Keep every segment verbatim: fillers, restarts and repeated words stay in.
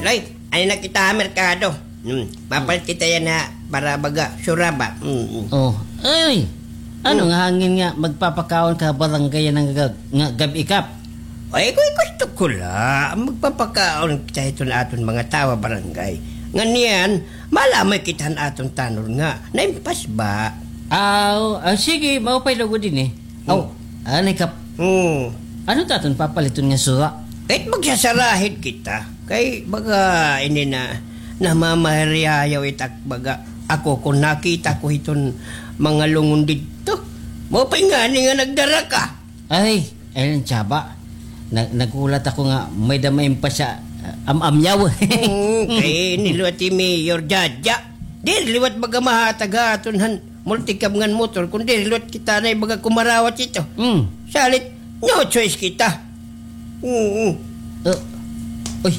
Loy, ano na kita ha merkado? Hmm, mapalit kita yana para baga sura ba? Hmm, hmm. Oh, ay! Ano nga hangin nga magpapakaon ka ha barangay yana nga, nga gab-i, Kap? Ay, gu-, gusto ko la magpapakaon kita hiton aton mga tawo ha barangay. Ngan yana, malamay kita han aton tanod nga naimpas ba. Aw, ah, sige, maupay lugod ini. Aw, anay, Kap. Hmm. Ano it aton papaliton nga sura? Kahit magsasarahid kita. Kay baga ini na, namamahiryayaw it ak-, baga ako kon nakita ko hiton mga lungon didto. Maupay ngani nga nagdara ka. Ay, ayun, Chaba. Na-, naghulat ako nga may-ada maimpas ha, ah, am-amyaw. Hmm, kay ini liwat hi Mayor Jaja. Diri liwat baga mahatag ha aton han multicab ngan motor, kundi liwat kita anay baga kumarawat hito. Hmm. Salit, no choice kita. Oo. Uh, uy,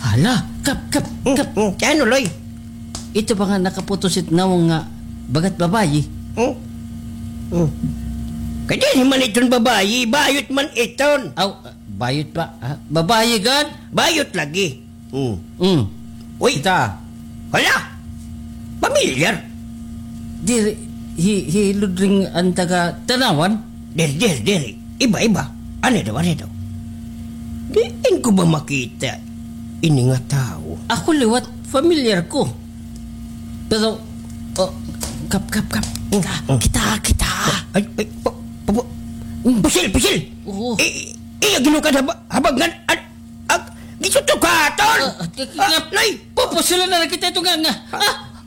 hala, Kap, Kap, Hmm, Kap. Hmm, kay ano, Loy? Ito ba nga nakaputos it nawong nga bagat babayi? Hmm? Hmm. Kay diri man iton babayi, bayot man iton. Aw, bayot pa, ha? Babayi gad? Bayot lagi. Hmm. Hmm. Uy. Kita. Hala! Pamilyar. Diri, hi, hi Ludring an taga Tanawan? Diri, diri, diri. Iba, iba. Ano daw, ano daw? Diin ko ba makita ini nga tawo? Ako liwat, familiar ko. Pero, oh, Kap, Kap, Kap. Kita, Hmm. kita, kita. Ay, ay, pa, pa, pa, Hmm. Pusil, pusil. Oo. I, i, iya ginukad haba-, habangan, an, ag, gisutukaton. Ah, ah, k-, k-, Ah, k-, Loy. Pupusilan na la kita ito nga, nga. Ah,